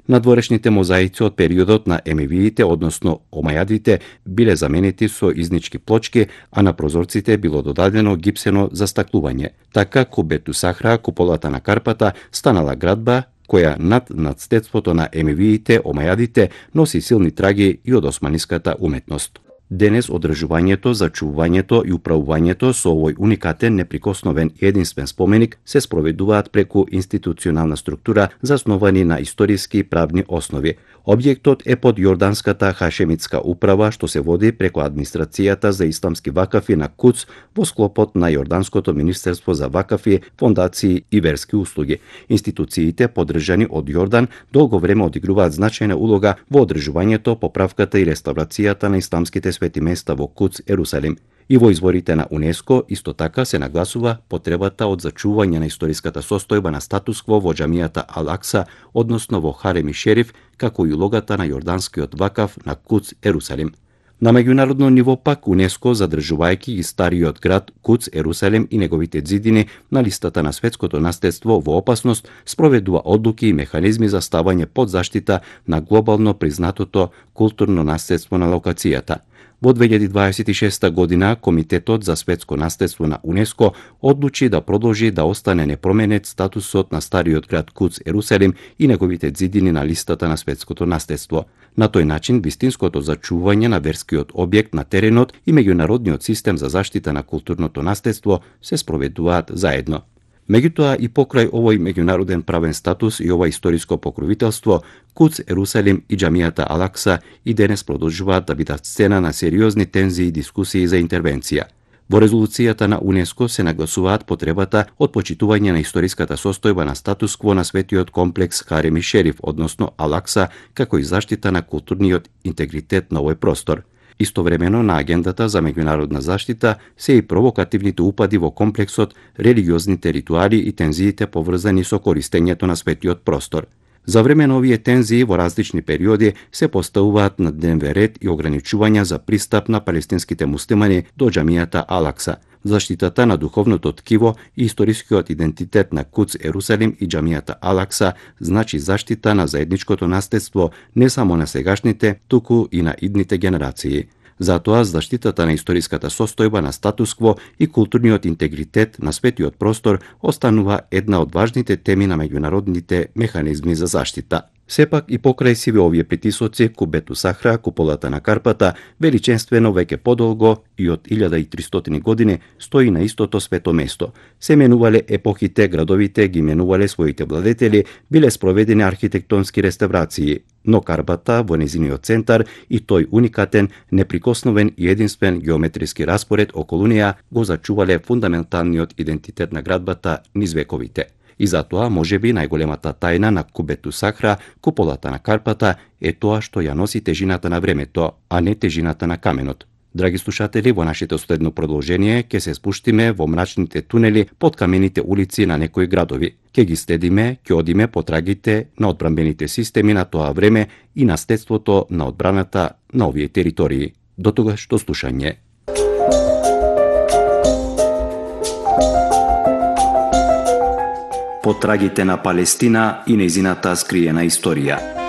Надворешните мозаици од периодот на емевиите, односно омајадите, биле заменети со изнички плочки, а на прозорците било додадено гипсено застаклување. Така Кубету Сахра, куполата на Карпата, станала градба која над надстедството на емевиите, омајадите, носи силни траги и од османиската уметност. Денес одржувањето, зачувувањето и управувањето со овој уникатен, неприкосновен и единствен споменик се спроведуваат преку институционална структура засновани на историски и правни основи. Објектот е под јорданската хашемитска управа, што се води преку администрацијата за исламски вакафи на Куц во склопот на Јорданското министерство за вакафи, фондации и верски услуги. Институциите, поддржани од Јордан, долго време одигруваат значајна улога во одржувањето, поправката и реставрацијата на исламските свети места во Куц, Ерусалим. И во изворите на УНЕСКО исто така се нагласува потребата од зачување на историската состојба на статус-кво во џамијата Ал-Акса, односно во Харем и Шериф, како и улогата на јорданскиот вакаф на Куц, Ерусалим. На меѓународно ниво пак УНЕСКО, задржувајќи и стариот град Куц, Ерусалим и неговите ѕидини на листата на светското наследство во опасност, спроведува одлуки и механизми за ставање под заштита на глобално признатото културно наследство на локацијата. Во 2026 година Комитетот за светско наследство на УНЕСКО одлучи да продолжи да остане непроменет статусот на стариот град Куц, Ерусалим и неговите ѕидини на листата на светското наследство. На тој начин, вистинското зачување на верскиот објект на теренот и меѓународниот систем за заштита на културното наследство се спроведуваат заедно. Меѓутоа и покрај овој меѓународен правен статус и ова историско покровителство, Куц, Ерусалим и џамијата Ал-Акса и денес продолжуваат да бидат сцена на сериозни тензии и дискусии за интервенција. Во резолуцијата на УНЕСКО се нагласуваат потребата од почитување на историската состојба на статус-кво на светиот комплекс Харем и Шериф, односно Ал-Акса, како и заштита на културниот интегритет на овој простор. Истовремено на агендата за меѓународна заштита се и провокативните упади во комплексот, религиозните ритуали и тензиите поврзани со користењето на светиот простор. За време на овие тензии во различни периоди се поставуваат на дневен ред и ограничувања за пристап на палестинските муслимани до џамијата Ал-Акса. Заштитата на духовното ткиво и историскиот идентитет на Куц, Ерусалим и џамијата Ал-Акса значи заштита на заедничкото наследство не само на сегашните, туку и на идните генерации. Затоа заштитата на историската состојба на статус-кво и културниот интегритет на светиот простор останува една од важните теми на меѓународните механизми за заштита. Сепак и покрај сиве овие притисоци, Кубету Сахра, куполата на Карпата, величенствено веќе подолго и од 1300 години стои на истото свето место. Се менувале епохите, градовите ги менувале своите владетели, биле спроведени архитектонски реставрации, но Карпата во незиниот центар и тој уникатен, неприкосновен и единствен геометриски распоред околу неа го зачувале фундаменталниот идентитет на градбата низ вековите. И затоа, можеби, најголемата тајна на Кубету Сахра, куполата на Карпата, е тоа што ја носи тежината на времето, а не тежината на каменот. Драги слушатели, во нашето следно продолжение ќе се спуштиме во мрачните тунели под камените улици на некои градови. Ќе ги следиме, ќе одиме по трагите на одбранбените системи на тоа време и наследството на одбраната на овие територии. До тогаш, до слушање. По трагите на Палестина и нејзината скриена историја.